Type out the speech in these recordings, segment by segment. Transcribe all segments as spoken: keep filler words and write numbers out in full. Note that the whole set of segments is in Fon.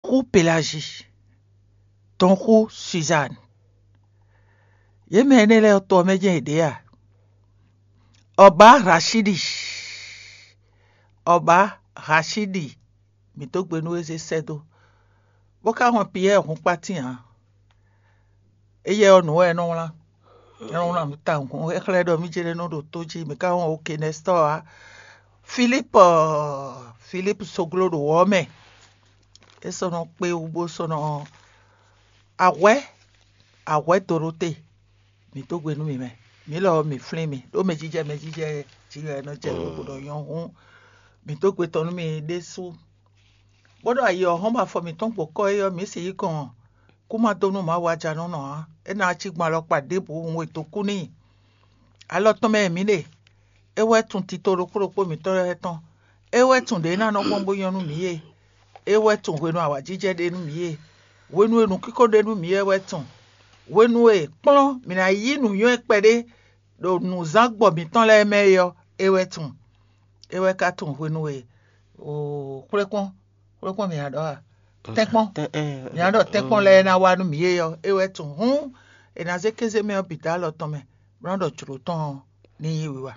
Dɔnkú Pelazi, Dɔnkú Suzanne. Yě mɛ énɛ́ lɛ́ɛ ɔ́, to ɔ́ mɛ jɛ́n yě ɖe a? Ɔbá Rashidi, Ɔbá Rashidi, mǐ dó gbe nú we zé sɛ́ dó, bó ka hɔn Piyɛ́ɛ hun kpátín ǎ. Éyɛ́ ɔ́, nǔ wɛ é nɔ wlán. É nɔ wlán nǔ tawun. É xlɛ́ ɖɔ mí ce ɖé nɔ ɖo tó jí, mǐ ka wɔn oke nɛstɔ́ ǎ. Filípu, Filípu soglo ɖo wɔ̌ mɛ. É sɔ́ nɔ kpé wú bó sɔ́ nɔ ahwɛ̌, ahwɛ̌ Dorote, mǐ dó gbe nú mì mɛ. Mǐ lɔ ɔ́, mǐ flín mi, ɖó mɛjijɛ mɛjijɛ jí wɛ é nɔ jɛ ɖokpó ɖɔ nyɔ́ hǔn, mǐ dó gbe tɔn nú mi ɖésú. Bó ɖo ayi ɔ́ hɔn bɔ afɔ mǐtɔn gbɔ̌ kɔ é ɔ́, mǐ sixú kɔn kú ma dó nú Mawu ajanɔnɔ ǎ. É ná cí gbɔn alɔkpa ɖěbǔ hun e dó kú n'i. Alɔ tɔn mɛ e mǐ ɖe, é wɛ tunwun tito ɖokpó ɖokpó mǐtɔn lɛ́ɛ tɔn. É wɛ tunwun ɖě ná nɔ gbɔn bó nyɔ́ nú mǐ é. É wɛ tunwun hwenu awǎjijɛ ɖe nú mǐ é. Hwenu e nǔkíko ɖe nú mǐ é wɛ tunwun. Hwenu e kplɔ́n mǐ ná yí nǔnywɛ́ kpɛɖé ɖo nǔzángbɔ mǐtɔn lɛ́ɛ mɛ é ɔ́, é wɛ tunwun. É wɛ ka tunwun hwenu e xwlékpɔ́n, xwlékpɔ́n mǐ ná ɖɔ a? Tɛ́nkpɔ́n. Mǐ ná ɖɔ tɛ́nkpɔ́n lɛ́ɛ ná wá nú mǐ é ɔ́, é wɛ tunwun. Hǔn è nǎ zé kéze mɛ ɔ́ bǐ dó alɔ tɔn mɛ, bó ná ɖɔ jlǒ tɔn ɔ́ ní nyí wiwa.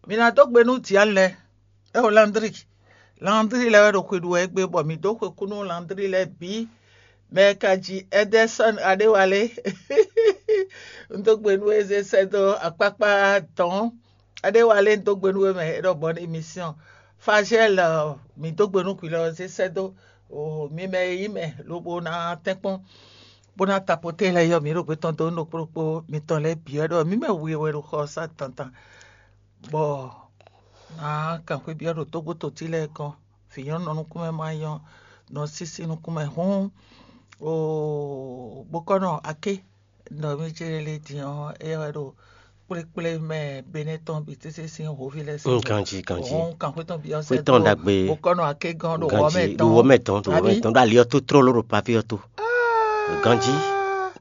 Mǐ ná dó gbe nú Dianu lɛ́ɛ, é xo Landri. Landri lɛ́ɛ wɛ ɖo xwe ɖu wɛ égbé, bɔ mǐ dó xwe kú nú Landri lɛ́ɛ bǐ. Mɛ e ka ji Ɛdɛsɔ́n Aɖéwalé, un dó gbe nú we zé sɛ́ dó akpákpá dɔ̌n. Aɖéwalé, un dó gbe nú we mɛ, é ɖɔ bɔn émission. Fazɛ́l, mǐ dó gbe nú hwi lɔ zé sɛ́ dó mi mɛ e nyí mɛ lobo ná tɛ́nkpɔ́n, bó ná tapoté lɛ́ɛ yɔ mǐ ɖo gbé tɔn dó nú ɖokpó ɖokpó mitɔn lɛ́ɛ bǐ wɛ ɖɔ mǐ mɛ we wɛ ɖo xɔ ɔ́ sá dandan. Bɔ ná kan xwé byɔ́ ɖo tógbótotí lɛ́ɛ gɔ́n, vǐ nyɔ́ nɔ nukúnmɛ má nyɔ́, nɔ sísí nukúnmɛ hǔn, oo, bó kɔ́ nɔ aké, nɔ mí cé lé din ɔ́, é wɛ ɖo kplékplé mɛ Benɛ́ tɔn bǐ tɛ́ sín hǒví lɛ́ɛ sín. Mm, ganjí, ganjí. Hɔn kan xwé tɔn byɔ́ sɛ́ Xwé tɔn dó, ɖagbe. Bó kɔ́ nɔ aké gán ɖo wɔ mɛ ganjí, tɔn. Ɖo wɔ mɛ tɔn, ɖo wɔ mɛ tɔn, ɖo ali ɔ́ tó tlóló ɖo pavé ɔ́ tó. Ganjí,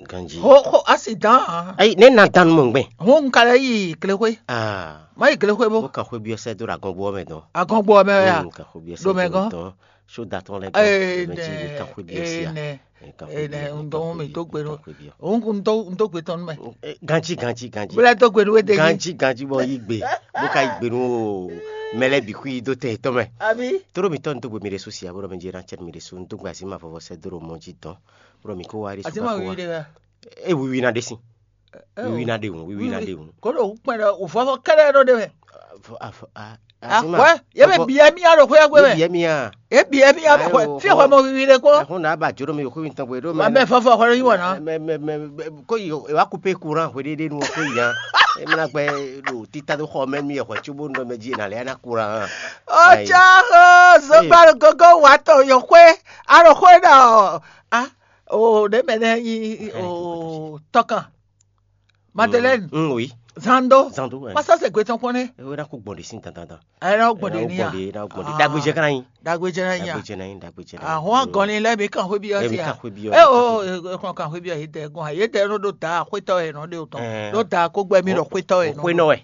ganjí. Ho ho asi dán. Ayi, ne na dan mɔ gbɛ. Hɔn un ka lɛ yi glexwé. Ah. Má yi glexwé bó. Bó kan xwé byɔ́ sɛ́ dó ɖo agɔngbó ɔ́ mɛ dɔn. Agɔngbó ɔ́ mɛ ya. Mm, kan xwé byɔ́ sɛ́ Ɖo mɛ dó gán. Dɔn. Sóda tɔn lɛ gán. Ee, mɛ jí mi kan xwé byɔ́ sia. Ee, nɛ. Ee, kan xwé Ee, byɔ́, nɛ, kan un dɔn xwé mi byɔ́, dó gbe kan nú. Xwé byɔ́. Òun kún dó un dó gbe tɔn nú mɛ. Eh, ganjí, ganjí, ganjí. Bílẹ̀ dó gbe nú wé dé yìí. Ganjí, ganjí, bɔ yí gbe. Bó ka yí gbe nú o mɛ lɛ́ɛ bǐ xwí dó tɛ yětɔn mɛ. Àbí? Tóɖó mǐtɔn un dó gbe mi ɖésú sia, bó ɖɔ mɛ jí ná cɛ mi ɖésú, un dó gbe azǐn mavɔvɔ sɛ́ dó ɖo mɔ jí dɔn. Bó ɖɔ mi kó wá ɖésú. Azǐn ma wiwi ɖé wá. E wiwi ná ɖe sín. Wiwi ná ɖe hǔn, wiwi ná ɖe hǔn. Kó ɖo kpɛn ɖɔ wò vɔvɔ kɛɖɛ ɖo ɖe mɛ. Afɔ, afɔ, a, Azǐn ma. Ahwɛ, ye bɛ biɛ mía ɖo xwé gbe mɛ. Biɛ mía. Ye biɛ mía xwɛ, Ayo, fi xɔ xɔ. Mɔ wiwi ɖe kó. Ɛhún ná ba jǒ ɖo mi xwé mi tɔn gbe ɖo Wa mɛ fɔfɔ xɔ ɖo yí wɔ ná. Mɛ mɛ mɛ mɛ kó yi e wa kúpe kuran hwe ɖéɖé nu ɔ́ kó yi hàn. E mla gbɛ ɖo títa ɖo xɔ mɛ mi xɔ tso bó nɔ mɛ jí na lɛ na kuran. Ó Ayi. Tsá ó zogba gogo wa tɔ yɔ xwé, a ɖo xwé ɖɔ a o ɖe mɛ nɛ yi o tɔkan. Madeleine. Mm, oui. Zando. Zando, ouais. Masa se gbe tɔn kpɔn ne. E na ko gbɔn de sin dandan. Ayɛ na gbɔn de ni ya. Na gbɔn de, na gbɔn de. Dagbe jɛ kana yin. Dagbe jɛ na yin ya. Dagbe jɛ na yin, dagbe jɛ na yin. Ahun agɔnni lɛ mi kan xwe bi ɔsi ya. Mi kan xwe bi ɔsi. E o, e kan xwe bi ɔsi dɛ gɔn. Ye dɛ no do da xwetɔ ye no de o tɔn. Do da ko gbɛ mi do xwetɔ ye no. Xwe nɔ wɛ.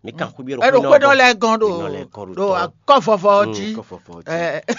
Mi kan xwe bi ɔsi. E do xwe nɔ lɛ gɔn do. Do akɔ fɔfɔ ji. Kɔ fɔfɔ ji.